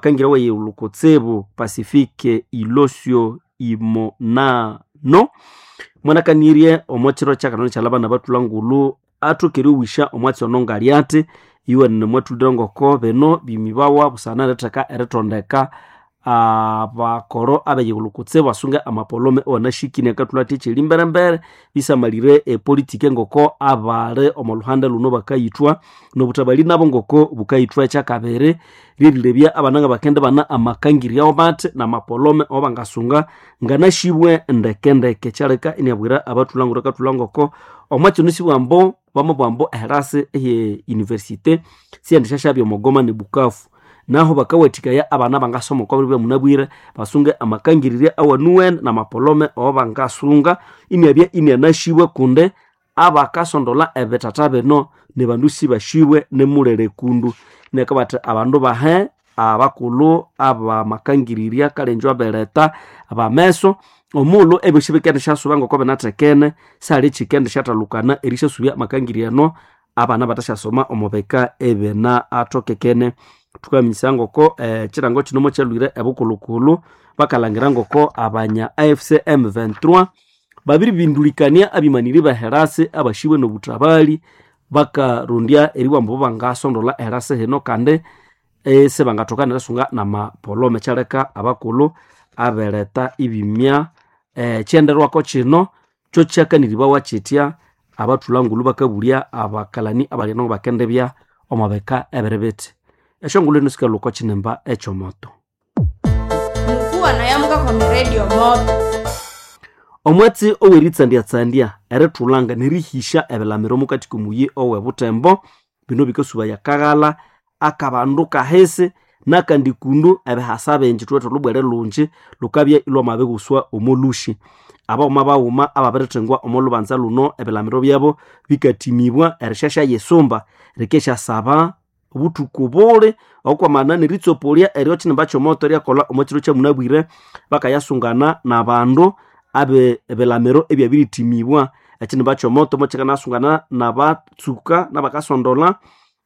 amakangira weyulu kutsibu Pacifique Ilosio Imonano mwanakanirye omo kiro kyakano kyalabana bathulha ngulu athokere owisha omwatsi ono ngalyati iwenene mwathulire ngoko bino bimibawa busana eritheka erithondeka abakoro abeyigulhu kutsibu basunge amapolome awanashikine akathulha athi ekyeri mberembere bisamalire epolitiki ngoko abali omo luhande luno bakayithwa nobuthabali nabo ngoko bukayithwa ekyakabiri ryerilebya abana ngabakende bana amakangirya bathi namapolome awabangasunga nganashibwe ndekendeke kyaleka iniabwira abathulha nguru akathulha ngoko omwakino sibwambo bamabwambo eherasi eye university siyendishashabya omogoma ne Bukavu naho bakawathikaya abana bangasoma okwa biro byamunabwire basunge amakangirirya awanuwene namapolome awabangasunga iniabya inianashibwe kundi abakasondola ebithatha bino nibandu sibashibwe nimulere kundu inakabathi abandu bahe abakulhu abamakangirirya kalenjo abeleta abameso omughulhu ebyosi bikendishyasuba ngoko binathekene sihali ekyikendishathalukana erisyasubya amakangirya ano abana bathasyasoma omo bika ebina athokekene. Thukaminyisaya ngoko ekirango kino mokyalhwire ebukulhukulhu bakalhangira ngoko abanya AFC M23 babiribindulikania abimaniri beherasi abashibwe nobuthabali bakarondya eribugha bangasondola eherasi hino kandi isibangathoka nerisunga namapolome kyaleka abakulhu abeletha ibimya ekyenderwako kino kyo kyakaniribawa kyitya abathulha ngulhu bakabulya abakalani abali eno bakendibya omo bika ebiri bithi. Esyongulhu eno sikalhwa oko kinimba ekyomoto. Mukuwana yamukakwama radio moto. Omwatsi oweritsandyatsandia erithulanga nerihisya ebilamiro mukati komuyi owe Butembo bino bikasubaya akaghalha akabandu kahisi nakandi kundu ebihasa bingi thuwithe olhubwere lungi lhukabya ilhwamabirighuswa omo lhusi. Abaghuma baghuma ababirithengwa omo lhubanza luno ebilamiro byabo bikatimibwa erishasha yisumba rikesyasaba obuthuku buli okwamana neritsopoliya eryo ekinimba kyomoto eryakolha omo kiro kyamunabwire bakayasungana nabandu abe ebilamiro ebyabiritimibwa. Ekinimba kyomoto mokyikanasungana nabatsuka nabakasondola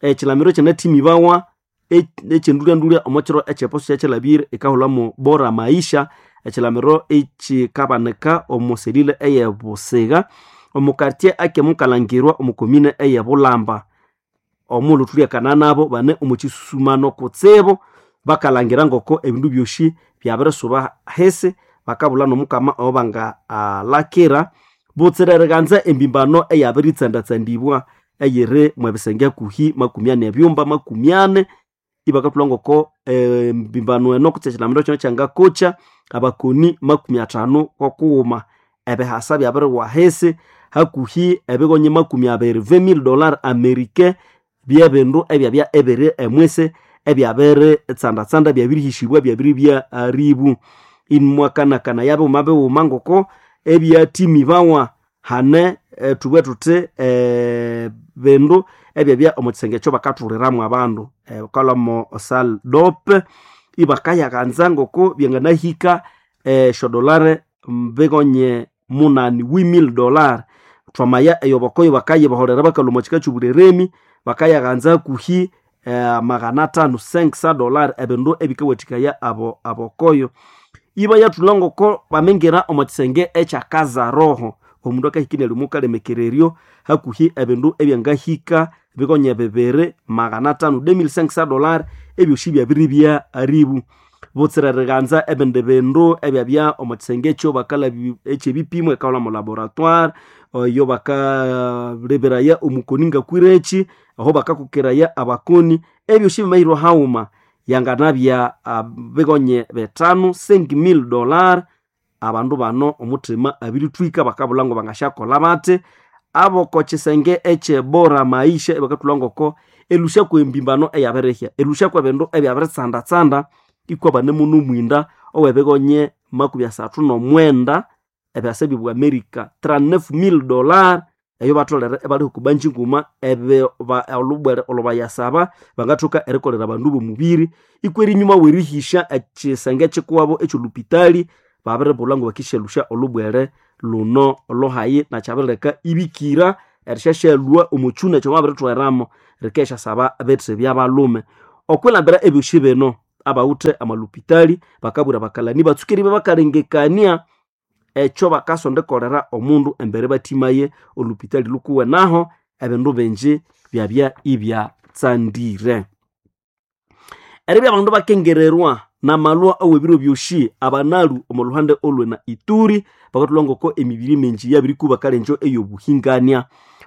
ekilamiro kyanatimibawa ekyendulyandulya omo kiro ekyeposo kyakyalhabire ekahulhamu Bora Maisha ekilamiro ekikabanika omo selile eye Busiga omo quartier akemukalangirwa omo komine eye Bulamba. Omughulhu thulyakana nabo bane omo kisusumano kutsibu bakalhangira ngoko ebindu byosi byabirisuba hisi bakabulha nomukama owabangalakira butsira eriganza embimbano eyabiritsanda-tsandibwa eyiri mwebisenge hakuhi makumi ani ebyumba makumi ani ibakathulha ngoko embimbano eno kutse ekilamiro kino kyangakokya abakoni makumi athanu kokughuma ebihasa byabiriwa hisi hakuhi ebigonyi makumi abiri $20,000 americain byebindu ebyabya ebiri emwisi ebyabiritsandatsanda byabirihisibwa byabiribya aribu. Imwakanakana bighuma bighuma ngoko ebyathimibawa hane thubughe thuthi bindu ebyabya omo kisenge ekyo bakathuliramu abandu bakalhwamo salle dope ibakayaghanza ngoko byanganahika esyodolare bigonye munani $8,000. Thwamaya eyobokoyo bakayibaholera bakalhwa omo kika kyobulheremi bakayaghanza hakuhi magana athanu $500 ebindu ebikawathikaya abo abokoyo. Ibayathulha ngoko bamingira omo kisenge ekyakazaroho omundu akahika inalywa omukalemekereryo hakuhi ebindu ebyangahika bigonye bibiri magana athanu $2,500 ebyosi byabiribya aribu. Butsira eriganza ebindi bindu ebyabya omo kisenge ekyo bakalhabya ekyebipimo ekahulha mo laboratoire eyo bakaleberaya omukoni ngakwireki aho bakakokeraya abakoni ebyosi bimahirwa haghuma yanganabya bigonye bithanu $5,000. Abandu bano omuthima abirithwika bakabulha ngo bangasyakolha bathi aboko kisenge ekye Bora Maisha ibakathulha ngoko elusya kwembimbano eyabirihya elusya kwebindu ebyabiritsanda-tsanda ikwa banemu nomwinda owebigonye makumi asathu nomwenda ebyasa byobwa America $39,000 eyo batholere ibali okwa nguma olhubwere olhubayasaba bangathoka erikolera abandu bomubiri ikwa erinyuma werihisya ekisenge kikuwabo ekyolhupitali babiribulha ngo bakisyalusya olhubwere luno lhuhayi nakyabirileka ibikira erisyasyalhwa omo kyuna ekyomwabirithweramo rikesyasaba bithi byabalhume. Okwilambira ebyosi bino abawuthe amalupitali bakabwira bakalani batsukeri bakalengekania ekyo bakasondekolera omundu embere bathimaye olupitali lukuwe naho ebindu bingi byabya ibyatsandire. Eribya abandu bakengererwa namalwa aw'ebiro byosi abanalu omo luhande olwe na Ituri bakathulha ngoko emibiri mingi yabirikuba kalenjo eyobuhingania.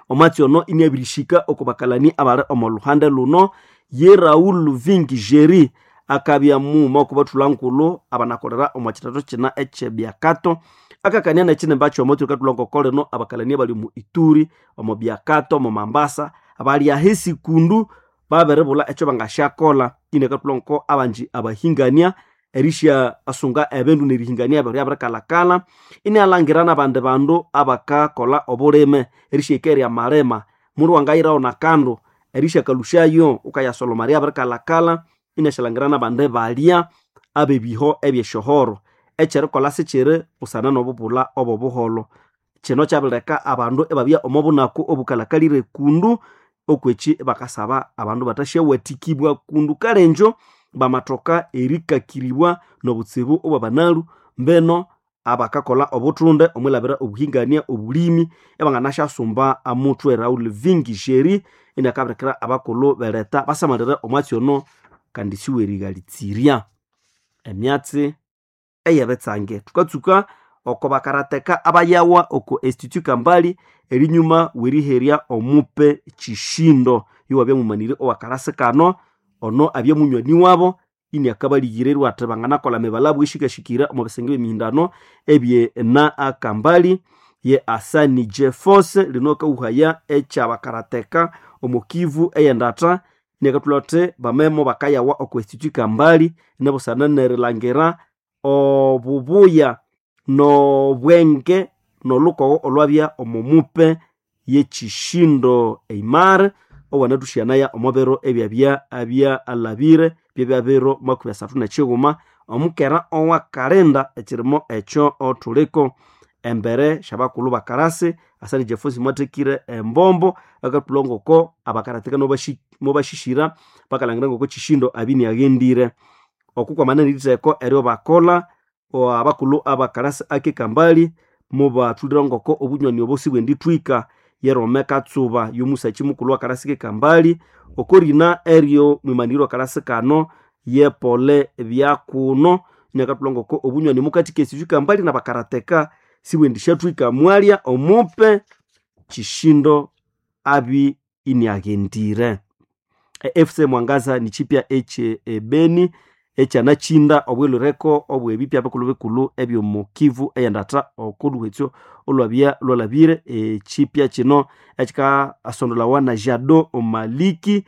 Omwatsi ono iniabirishika oko bakalani abali omo luhande luno ye Raul Vingi Jerry akabya mughuma oko bathulha nkulhu abanakolera omo kithatho kina ekyebyakato akakania nekinimba kyomwatsi okathulha ngoko lino abakalani abali omu Ituri, omo Byakato, omo Mambasa bali ahisi kundu babiribulha ekyo bangasyakolha inakathulha ngoko abangi abahingania erisya asunga ebindu nerihingania ebindu byabirikalhakalha inialhangira nabandi bandu abakakolha obulime erisyahika erya malima mundu wangayirawo nakandu erisyakalhusyayo wukayasoloma ryabirikalhakalha iniasyalangira nabandi balya abebiho ebyesyohoro ekyerikolha sikyiri busana nobubulha obobuholho. Kino kyabirileka abandu ibabya omo bunaku obukalhakalire kundu okwekyi ibakasaba abandu bathasyawathikibwa kundu kalenjo bamathoka erikakiribwa nobutsibu obwabanalu mbeno abakakolha obuthunde omwilhabira obuhingania obulimi ibanganasyasumba amuthwe. Raul Vingi Jerry iniakabirikira abakulhu beletha basamalire omwatsi ono kandi siwerighalitsirya emyatsi eyebitsange. Thukatsuka oko bakarateka abayawa oko Institut Kambali erinyuma weriherya omupe Chishindo yowabya mumanire owakalasi kano ono abya munywani wabo iniakabalhigirirwa athi banganakolha emibalabwa eshikashikira omo bisenge byemihindano ebye na akambali ye Asani Jefose lino akawuhaya ekyabakarateka omo Kivu eyendatha iniakathulha athi bamemo bakayawa oko Institut Kambali inabusana nerilhangira obubuya nobwenge nolukogho olwabya omo mupe yekishindo Eimar owanathushyanaya omo biro ebyabya abyalhabire byabya biro 31 omukera owakalinda ekirimo ekyo othuliko embere syabakulhu bakarasi. Asani Jeffosi mwathekire embombo akathulha ngoko abakarateka mobashishira bakalhangira ngoko Chishindo abya iniaghendire. Oku kwamana neritheko eryo bakolha abakulhu abakarasi ake Kambali mubathulira ngoko obunywani obo sibwendithwika yerome katsuba yomusakyi mukulhu wakarasi ke Kambali oko rina eryo mwimaniri wakarasi kano ye Pole Byakuno inakathulha ngoko obunywani mukathi k'Institut Kambali nabakarateka sibwendisyathwika mwalya omupe Chishindo abi iniaghendire. E FC Mwangaza nikyipya ekye ebeni ekyanakyinda obwilhireko obwebipya bikulhu bikulhu ebyomo Kivu eyendatha okolhuhetsyo olwabya lwalhabire. Ekyipya kino ekyikasondolawa na Jado Maliki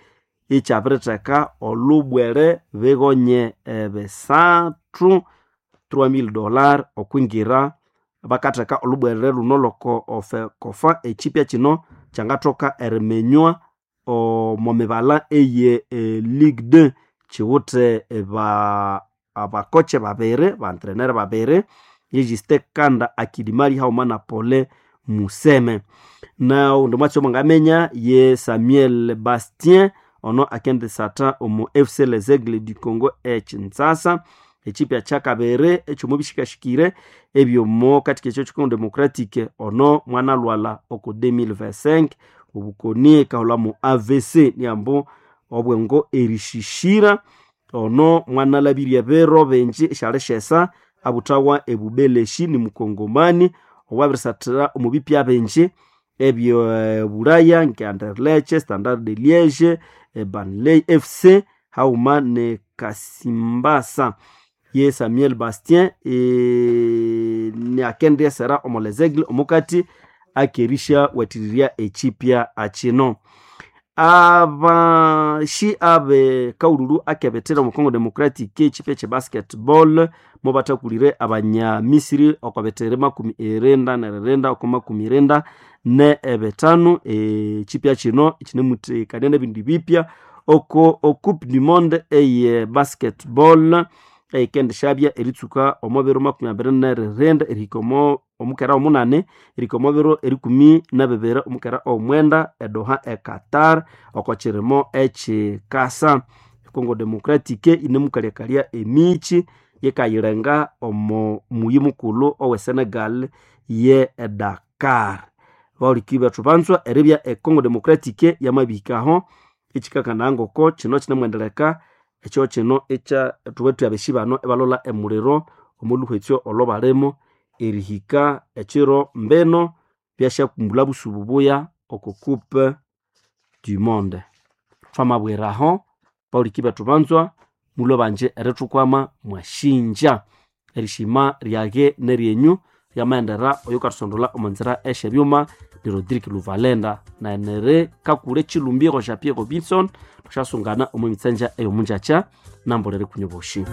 ekyabiritheka olhubwere bighonye ebisathu $3000 okwingira bakatheka olhubwere lhuno lhoko ofekofa. Ekyipya kino kyangathoka eriminywa omo mibalha eye Ligue 2 kiwithe abakoche babiri bantrenere babiri ye Justin Kanda Akilimali haghuma na Pole Museme. Naghundi mwatsi omwangaminya ye Samuel Bastien ono akendisatha omu FC Les Aigles du Congo ekintsasa. Ekyipya kyakabiri ekyomo bishikashikire ebyomo kathika ekyo Congo Democratic ono mwanalhwalha oko 2025 obukoni ekahulha mu AVC niambu obwengo erishishira ono mwanalhabirye ebiro bingi esyalishesa abuthawa ebubeleshi ni mukongomani owabirisathira omu bipya bingi ebye Bulaya nke Anderlecht, Standard de Liege, Burnley FC haghuma ne Kasimbasa. Ye Samuel Bastien niakendyesera omo Les Aigles omukati akerisya wathirirya ekyipya akino. Abashi abe kaululu akebethera omu Congo Democratic ekyipya ekye basketball mubathakulire abanya Misiri oko bitiri 94 oko 95. Ekyipya kino kinemuthekania nebindi bipya oko Coupe du Monde eye basketball eyikendishabya eritsuka omo biro 29 erihika omo omukera omunani erihika omo biro 12 omukera omwenda edoha e Qatar oko kirimo ekyikasa. Congo Democratique inemukalyakalya emichi yikayilenga omo muyi mukulhu owe Senegal ye Dakar. Bahuliki bethu banzwa eribya e Congo Democratique yamabihikaho ekikakana ngoko kino kinemwendeleka ekyo kino ekya thubethu abeshi bano ebalola emuliro omolhuhwetsyo olwo balimo erihika ekiro mbino byasyakumbula busubu buya oko Coupe du Monde. Thwamabwiraho bahuliki bethu banzwa mulwe banje erithukwama mwashinja erishima ryage neryenyu ryamaendera oyukathusondolha omo nzira esyebyuma ni Rodrigue Luvalenda na neri kakule Chilumbiro Jean Pierre Robinson thusasungana omo mitsenja eyomunjakya nambolere kunyu boshi.